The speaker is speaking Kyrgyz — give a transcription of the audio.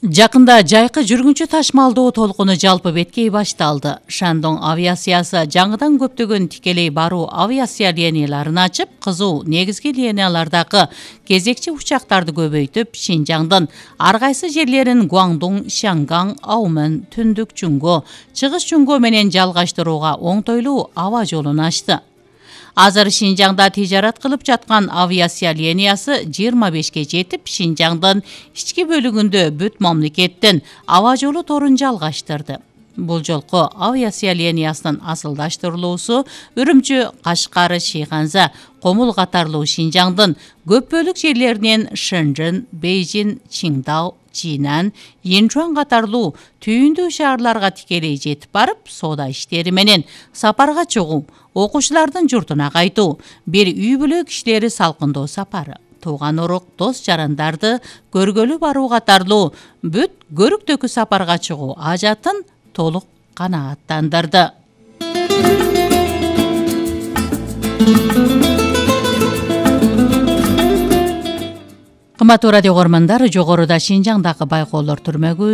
Жакында жайкы жүргүнчү ташмалдоо толкуну жалпы беткей башталды. Шандон авиациясы жаңыдан көптөгөн тикелей баруу авиация линияларын ачып, кызуу негизги линиялардагы кезекчи учактарды көбөйтүп, Шинжаңдын ар кайсы жерлерин Гуандун, Шанган, Аумэн, Түндүк Чуңго, Чыгыш Чуңго менен жалгаштырууга оңтойлуу аба жолун ачты. Азыр Шинжаңда тижарат кылып жаткан авиация линиясы 25ге жетип, Шинжаңдын ички бөлүгүндө бүт мамлекеттин аба жолу торун жалгаштырды. Бул жолку авиация линиясынын асылдаштырылуусу Үрүмчү, Кашкар, Шыйганза, Комул катарлуу Шинжаңдын көп бөлүк жерлеринен Шэньчжэн, Бейжин, Чингдау, Чинан, Йинчуан катарлуу түйүндүү шаарларга тикелей жетип барып, соода иштери менен сапарга чыгуу, окуучулардын журтуна кайтуу, бир үй бүлө кишилери салкындоо сапары, тууган урук, дос жарандарды көргөлү баруу катарлуу бүт көрүктөкү сапарга чыгуу ажатын толук канааттандырды. Кымбаттуу радио көрөрмандар, жогоруда Шинжаңдагы байкоолор түрмөгү